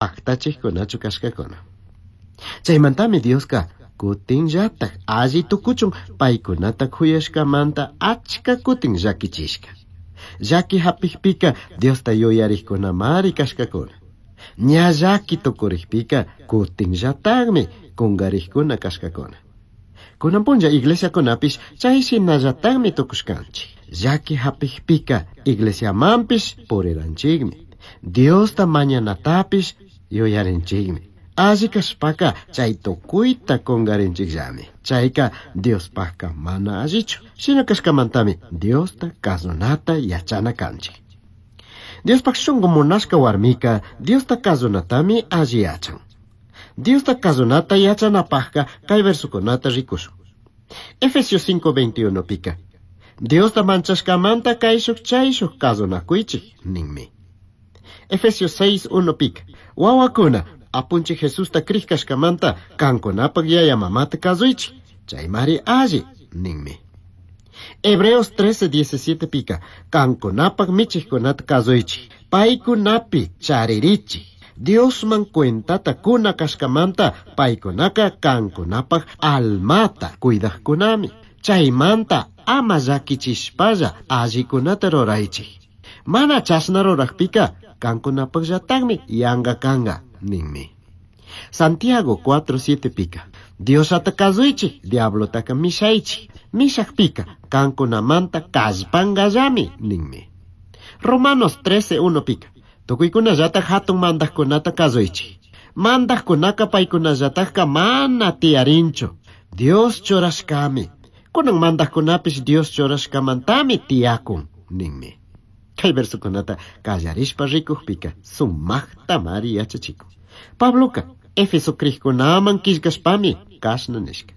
Pajtachijcunachu cashcacuna. Chaimantami Diosca cutinllataj alli tucuchun paicunata juyashcamanta achca cutin llaquichishca. Llaqui japijpica Diosta yuyarijcunamari cashcacuna. Ña llaqui tucurijpica cutinllatajmi cungarijcuna cashcacuna. Cunan punlla iglesiacunapish chay shinallatajmi tucushcanchij. Llaqui japijpica iglesiamanpish puriranchikmi. Diosta mañanatapish yuyarinchikmi. Alli kashpaka chay tukuyta kungarinchikllami. Chayka Diospajka mana allichu. Shina kashkamantami Diosta kazunata yachana kanchik. Diospaj shunku munashka warmika Diosta kazunatami alli yachan. Diosta kazunata yachanapajka kay versukunata rikushun. Efesios 5:21 pika. Diosta manchashkamanta kayshuk chayshuk kazunakuychik ninmi. Efesios 6:1 pika. Wawakuna apunchik Jesusta crij kashkamanta kankunapak yaya mamata kazuychik. Chaymari alli ninmi. Hebreos 13:17 pika. Kankunapak michikkunata kazuychik. Paykunapi charirichik. Diosman cuentata kuna kashkamanta paykunaka kankunapak almata cuidajkunami. Chaymanta ama llakichishpalla allikunata ruraychik. Mana chashna rurajpika kankunapakllatakmi yanka kanka ninmi. Santiago 4:7 pika. Diosata kazuychik, diablotaka mishaychik. Mishajpika kankunamanta kallpankallami ninmi. Romanos 13:1 pika. Tukuykunallatak hatun mandajkunata kazuychik. Mandajkunaka paykunallatakka mana tiyarinchu. Dios churashkami. Kunan mandajkunapish Dios churashkamantami tiyakun ninmi. Kay versukunata kallarishpa rikujpika sumajtamari yachachikun. Pabloka Éfeso crijkunaman killkashpami kashna nishka.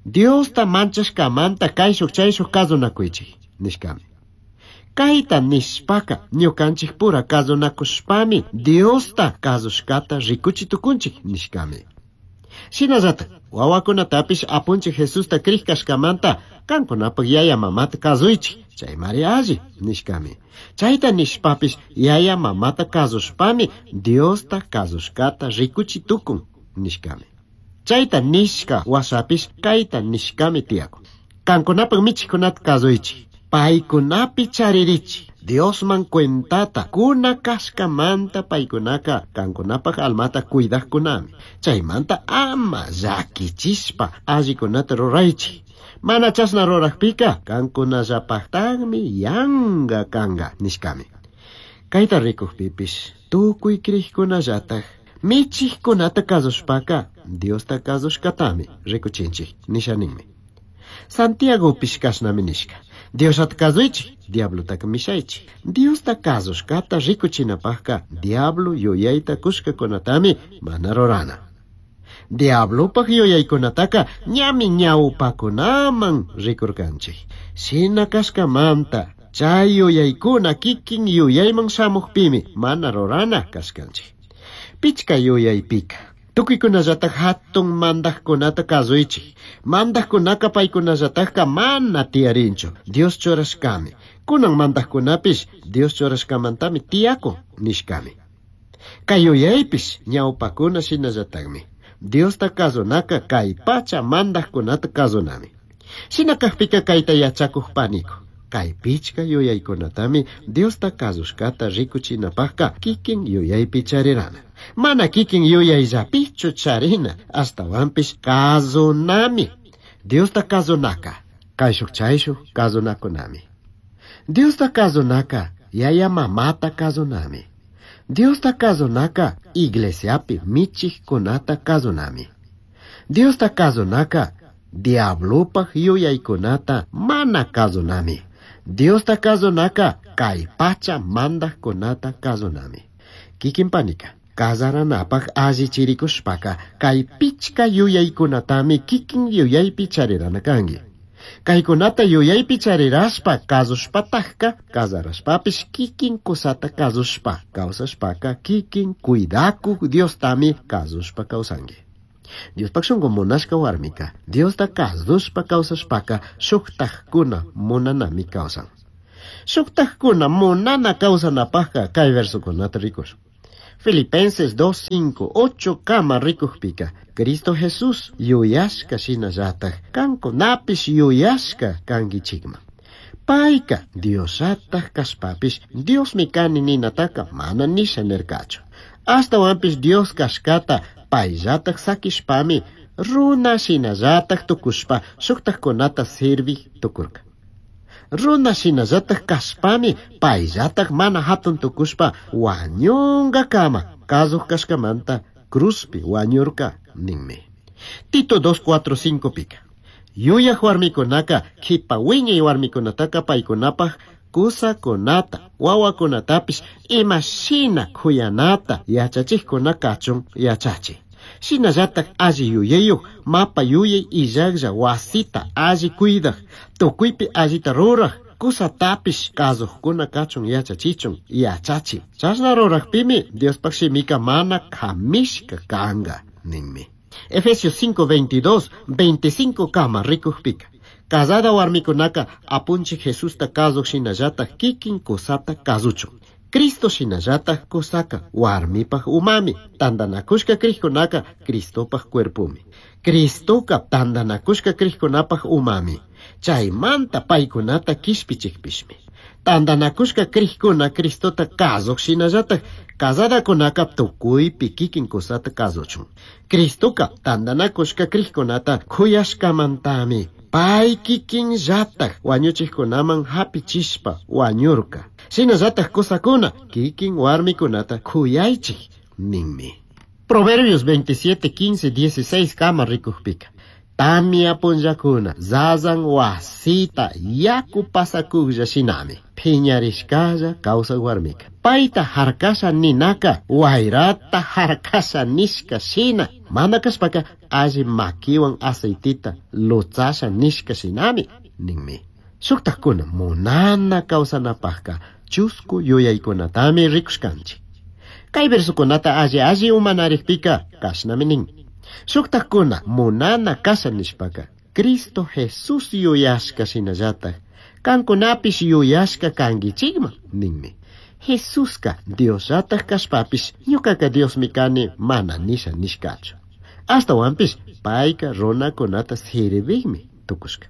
Diosta manchashkamanta kayshuk chayshuk kazunakuychik nishkami. Kayta nishpaka ñukanchik pura kazunakushpami Diosta kazushkata rikuchi tukunchik nishkami. Shinallatak wawakunatapish apunchik Jesusta crij kashkamanta kankunapak yaya mamata kazuychik chaymari alli nishkami. Chayta nishpapish yaya mamata kazushpami Diosta kazushkata rikuchi tukun nishkami. Chayta nishka washapish kayta nishkami tiyakun. Kankunapak michikkunata kazuychik. Paykunapi charirichik. Diosman cuentata kuna kashkamanta paykunaka kankunapak almata cuidajkunami. Chaymanta ama llakichishpa allikunata ruraychik. Mana chashna rurajpika kankunallapaktakmi yanka kanka nishkami. Kayta rikujpipish tukuy crijkunallatak michikkunata kazushpaka Diosta kazushkatami rikuchinchik nisha ninmi. Santiagopish kashnami nishka. Diosata kazuychik, diablotaka mishaychik. Diosta kazushkata rikuchinapajka diablo yuyayta kushkakunatami mana rurana. Diablopaj yuyaykunataka ñami ñawpakunaman rikurkanchik. Shina kashkamanta chay yuyaykuna kikin yuyayman shamukpimi mana rurana kashkanchik. Pichka yuyaypika. Tukuykunallatak hatun mandajkunata kazuychik. Mandajkunaka paykunallatakka mana tiyarinchu. Dios churashkami. Kunan mandajkunapish Dios churashkamantami tiyakun nishkami. Kay yuyaypish ñawpakuna shinallatakmi. Diosta kazunaka kay pacha mandajkunata kazunami. Shina kajpika kayta yachakuj paniku. Kay pichka yuyaykunatami Diosta kazushkata rikuchinapajka kikin yuyaypi charirana. Mana kikin yuyayllapichu charina, ashtawanpish kazunami. Diosta kazunaka, kayshuk chayshuk kazunakunami. Diosta kazunaka, yaya mamata kazunami. Diosta kazunaka, iglesiapi michikkunata kazunami. Diosta kazunaka, diablopaj yuyaykunata mana kazunami. Diosta kazunaka, kay pacha mandajkunata kazunami. Kikin panika, kazaranapaj allichirikushpaka kay pichka yuyaykunatami kikin yuyaypi charirana kanki. Kaykunata yuyaypi charirashpa kazushpatajka kazarashpapish kikin kusata kazushpa kawsashpaka kikin cuidakuk Diostami kazushpa kawsanki. Diospaj shunku munashka warmika Diosta kazushpa kawsashpaka shuktajkuna munanami kawsan. Shuktajkuna munana kawsanapajka kay versukunata rikushun. Filipenses 2, 5, 8 kama rikujpika Cristo Jesús yuyashka shinallataj kankunapish yuyashka kankichikman. Payka Diosllataj kashpapish Diosmi kani ninataka mana nisha nirkachu. Ashtawanpish Dios kashkata payllataj sakishpami runa shinallataj tukushpa shuktajkunata sirvij tukurka. Runa shinallataj kashpami payllataj mana hatun tukushpa wañunkakama kazuj kashkamanta cruzpi wañurka ninmi. Tito 2, 4, 5 pika. Yuyaj warmikunaka kipa wiñay warmikunataka paykunapaj kusakunata wawakunatapish imashina kuyanata yachachijkuna kachun yachachi. Shinallataj alli yuyayuj mapa yuyay illajlla wasita alli cuidaj tukuypi allita ruraj kusatapish kazujkuna kachun yachachichun yachachi. Chashna rurajpimi Diospaj shimika mana kamishka kanga ninmi. Efesios 5, 22, 25 kama rikujpika. Casada warmikunaka apunchik Jesusta kazuj shinallataj kikin kusata kazuchun. Cristo shinallataj kusaka warmipaj umami, tandanakushka krijkunaka Cristopaj cuerpumi. Cristoka tandanakushka krijkunapaj umami, chaymanta paykunata kishpichikpishmi. Tandanakushka krijkuna Cristota kazuj shinallataj casadakunaka tukuypi kikin kusata kazuchun. Cristoka tandanakushka krijkunata kuyashkamantami pay kikinllataj wañuchikkunaman hapichishpa wañurka. Shinallataj kusakuna kikin warmikunata kuyaychik ninmi. Proverbios 27, 15, 16 kama rikujpika. Tamia punllakuna zazan wasita yaku pasakujlla shinami. Phiñarishkalla kawsaq warmika. Payta harkasha ninaka wayrata harkasha nishka shina. Mana kashpaka alli makiwan aceitita lutsasha nishka shinami ninmi. Shuktajkuna munana kawsanapajka chusku yuyaykunatami rikushkanchik. Kay versukunata alli alli umanarikpika kashnami nin. Shuktajkuna munana kasha nishpaka Cristo Jesús yuyashka shinallataj kankunapish yuyashka kankichikman ninmi. Jesuska Diosllataj kashpapish ñukaka Diosmi kani mana nisha nishkachu. Ashtawanpish payka runakunata sirvijmi tukushka.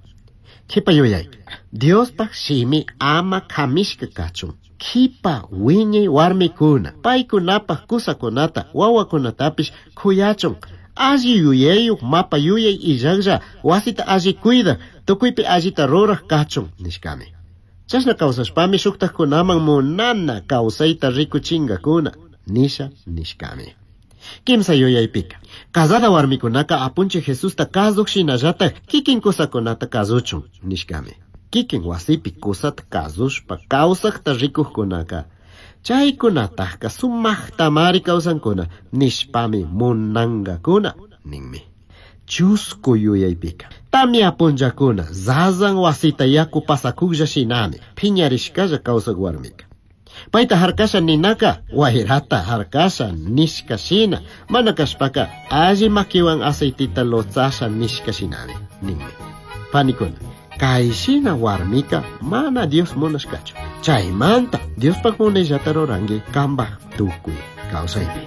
Kipa yuyay. Diospaj shimi ama kamishka kachun. Kipa wiñay warmikuna paykunapaj kusakunata wawakunatapish kuyachun. Alli yuyayuj mapa yuyay illajlla wasita alli cuidaj tukuypi allita ruraj kachun nishkami. Chashna kawsashpami shuktajkunaman munana kawsayta rikuchinkakuna nisha nishkami. Kimsa yuyaypika. Casada warmikunaka apunchik Jesusta kazuj shinallataj kikin kusakunata kazuchun nishkami. Kikin wasipi kusata kazushpa kawsajta rikujkunaka chaykunatajka sumajtamari kawsankuna nishpami munankakuna ninmi. Chusku yuyaypika. Tamia punllakuna zazan wasita yaku pasakujlla shinami phiñarishkalla kawsaq warmika. Payta harkasha ninaka wayrata harkasha nishka shina mana kashpaka alli makiwan aceitita lotsasha nishka shinami ninmi. Panikuna, kay shina warmika mana Dios munashkachu. Chaymanta Diospaj munayllata ruranki kambaj tukuy kawsaypi.